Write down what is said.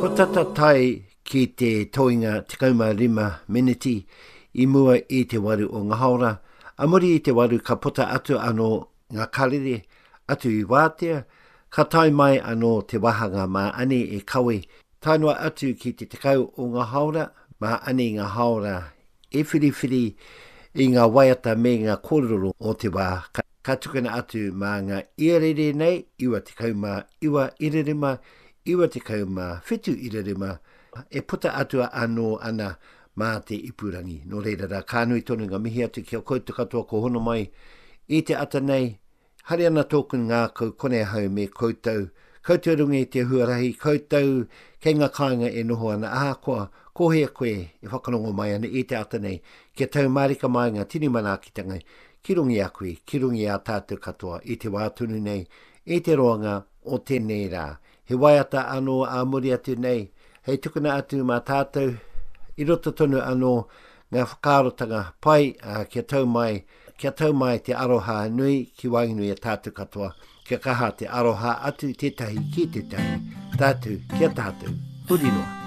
Ko tata tae ki te toenga 15 meneti i mua i te waru o nga haora, a muri i te waru ka puta atu ano nga karere atu i wātea, ka tae mai anō te wāhanga mā Ani e kawe tae noa atu ki te 10 o nga haora, mā Ani nga haora e whiriwhiri i nga waiata me nga kōrero o te wā ka tukuna atu mā nga iarere nei, 99 irarima, 97 irarima, e puta atu anō ana mā te ipurangi. Nō reira rā, ka nui tonu ngā mihi atu ki a koutou katoa ko hono mai i te ata nei. Hari ana tōku ngākau kone ahau me koutou, koutou i runga i te huarahi, koutou kei ngā kāinga e noho ana, ahakoa ko hea koe e whakarongo mai ana i te ata nei, kia tau mārika mai ngā tini manaakitanga ki runga i a koe, ki runga i a tātou katoa i te wā tonu nei, i te roanga o tēnei rā. He waiata anō ā muri atu nei, hei tukuna atu mā tātou, i roto tonu anō ngā whakaarotanga pai, ā, kia tau mai, kia tau mai te aroha nui ki waenganui i a tātou katoa, kia kaha te aroha atu tētahi ki tētahi, tātou ki a tātou, huri noa.